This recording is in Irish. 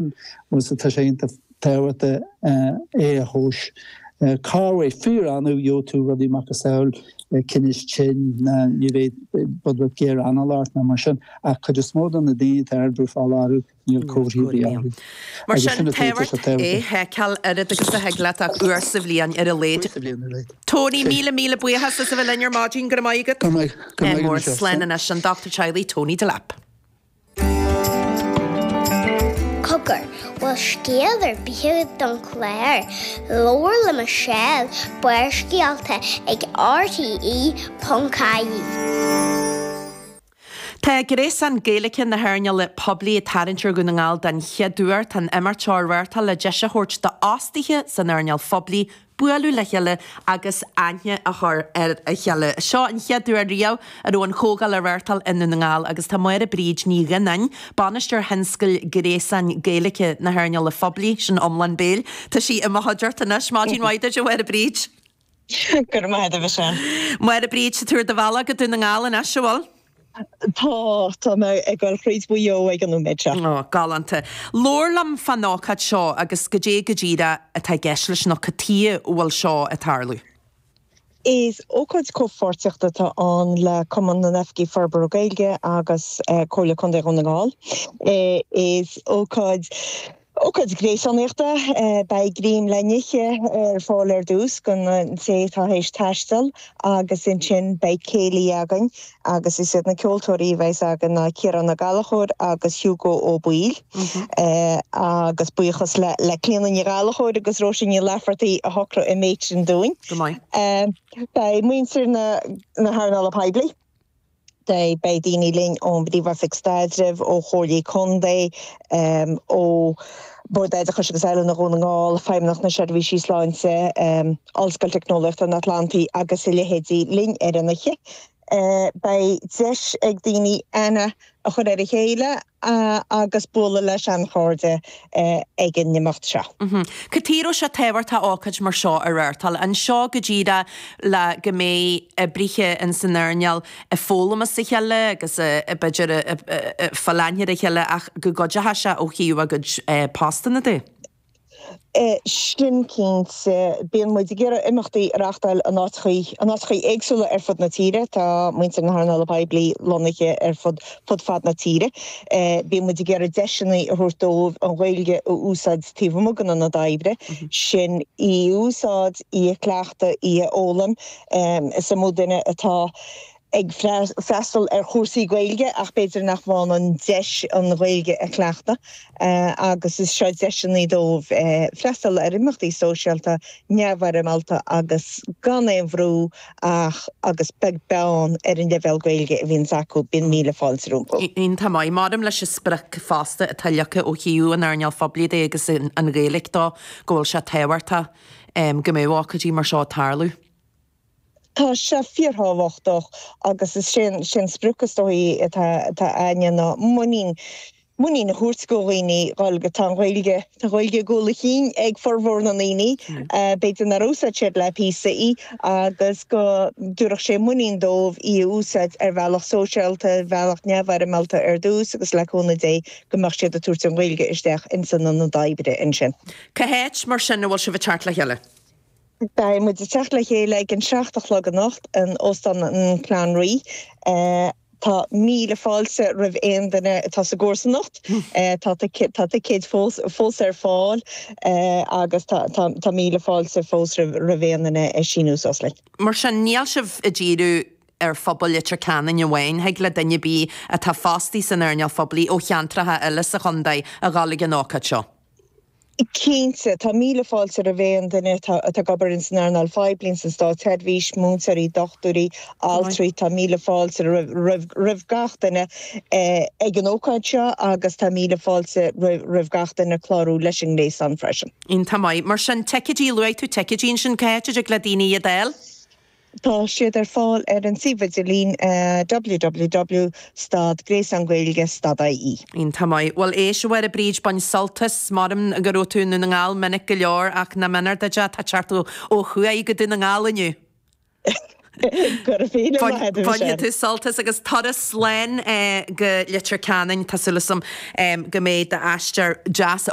Agus tá sé iontach tábhachtach é a thomhas. Corruair, fíor-annamh, gheobhaidh tú rudaí macasamhail, tinneas tinn, ná ní bheidh rud beag géar anála ort ná mar sin, ach cuid is mó de na daoine atá ardbhrú fola orthu, níl comharthaí ar bith orthu. Mar sin, tábhachtach é a sheiceáil oiread agus a thig leat ach uair sa bhliain ar a laghad. Uair sa bhliain ar a laghad. Tony, míle míle buíochas as a bheith linn ar maidin, go raibh maith agat. Go raibh maith agat, Michelle. Slán anois, an Dochtúir Teaghlaigh Tony Delap. Cogar, bhfuil scéal ar bith agat don chlár? Labhair le Michelle, Barrscéalta ag RTÉ.ie. Tá Gréasán Gaeilge na hEarnála Poiblí ag tarraingt ar Dhún na nGall den chéad uair. Tá an imeacht seo á reáchtáil le deis a thabhairt d'fhostaithe san earnáil phoiblí bualadh le chéile agus aithne a chur ar a chéile. Seo an chéad uair riamh a raibh an chomhdháil á reáchtáil i nDún na nGall agus tá Máire Bríd Ní Ghionnáin, Bainisteoir Thionscail Gréasáin Gaeilge na hEarnála Phoiblí, sin iomlán béil, tá sí i mo chuideachta anois. Maidin mhaith duit, a Mháire Bríd. Go raibh maith agat, a Mhichelle. Máire Bríd, tá tú ar do bhealach go Dún na nGall anois, an bhfuil? Tá, tá mé ag dul thríd Mhaigh Eo ag an nóiméad seo. Ó, galánta. Labhair liom fán ócáid seo agus goidé go díreach atá i gceist leis nó cad tuighe a bhfuil seo ag tarlú. Is ócáid comhpháirtíochta atá ann le Cumann na nOifigí Forbartha Gaeilge agus Comhairle Contae Dhún na nGall. Is ócáid. Ócáid ghréasánaíochta, beidh greim le n-ithe ar fáil ar dtús don té atá théis taisteal agus ansin beidh céilí againn agus is iad na ceoltóirí a bheas againn ná Ciarán Ó Gallchóir agus Hugo Ó Baoill agus buíochas le le Clíona Ní Ghallchóir agus Róisín Ní Laifeartaigh a shocraigh an méid sin dúinn. Go maith. Beidh muintir na hearnála poiblí. Beidh daoine linn ón bPríomh-Oifig Staidrimh, ó Chomhairlí Contae, ó Bhord Oideachais agus Oiliúna Dhún na nGall, Feidhmeannacht na Seirbhísí Sláinte, Ollscoil Teicneolaíochta an Atlantaigh agus a leithéidí linn ar an oíche. Beidh deis ag daoine aithne a chur ar a chéile agus bualadh le seanchairde ag an imeacht seo. Cad chuige a raibh sé tábhachtach ócáid mar seo a reáchtáil? An seo go díreach le go mbeidh oibrithe in san earnáil ag foghlaim as a chéile agus b'fhéidir ag fáil aithne ar a chéile ach go gcuideoidh sé ó thaobh a gcuid postanna de? Sin cinnte. Bíonn muid ag iarraidh imeachtaí a reáchtáil in áiteachaí, in áiteachaí éagsúla ar fud na tíre. Tá muintir na hearnála poiblí lonnaithe ar fud, fud fad na tíre. Bíonn muid ag iarraidh deiseanna a thabhairt dóibh an Ghaeilge a úsáid taobh amuigh den ionad oibre, sin í a úsáid, í a chleachtadh, í a fhoghlaim. Is iomaí duine atá ag freastal ar chúrsaí Gaeilge ach b'fhéidir nach bhfaigheann an deis an Ghaeilge a chleachtadh agus is seo deiseanna dóibh freastal ar imeachtaí sóisialta neamhfhoirmeálta agus gan aon bhrú ach agus beag beann ar an leibhéal Gaeilge a bhíonns acu, bíonn míle fáilte rompu. Iontach maith. Mairim leis an sprioc fosta atá leagtha ó thaobh an earnáil phoiblí de agus an Ghaeilge dó go bhfuil sé tábhachtach go mbeadh ócáidí mar seo ag tarlú. Tá sé fíorthábhachtach agus is é an sprioc is dóichí atá againne ná muinín, muinín a thabhairt do dhaoine dhul go, tá an Ghaeilge, tá an Ghaeilge i gcúl a chinn ag formhór na ndaoine, b'fhéidir nár úsáid siad le píosa í agus go dtabharfadh sé muinín dóibh í a úsáid ar bhealach sóisialta, ar bhealach neamhfhoirmeálta ar dtús agus le cúnamh Dé go mbeadh siad ag tabhairt an Ghaeilge isteach ins an ionad oibre ansin. Cá háit mar sin a bhfuil sibh ag teacht le chéile? Beidh muid ag teacht le chéile ag an 7 a chlog anocht in Óstán an Clanree. Tá míle fáilte roimh aon duine atá sa gcomharsanacht. Tá ticéid fós ar fáil agus tá míle fáilte fós roimh aon duine síniú suas linn. Mar sin, níl sibh ag díriú ar phobal Leitir Ceanainn amháin, thig le duine ar bith atá fostaí san earnáil phoiblí ó cheantracha eile sa chontae a dhul ag an ócáid seo. Cinnte, tá míle fáilte roimh aon duine atá ag obair ins an earnáil phoiblí, ins an státseirbhís, múinteoirí, dochtúirí, altraí, tá míle fáilte roimh gach duine ag an ócáid seo agus tá míle fáilte roimh gach duine clárú leis an ngréasán freisin. Iontach maith. Mar sin, ticéidí, luaigh tú ticéidí ansin, cá háit a dtig le daoine iad a fháil? Tá siad ar fáil ar an suíomh idirlín www stad gréasán Gaeilge stad ie. Iontach maith. Bhuel éist, a Mháire Bríd, bain sult as. Maram go raibh tú i nDún na nGall minic go leor ach nach méanar duit é, tá teacht ó thuaidh go Dún na nGall inniu. Go raibh míle maith agat, a Michelle. Bainfidh tú sult as agus turas slán go Leitir Ceanainn. Tá súil agam go mbeidh d'aistear deas.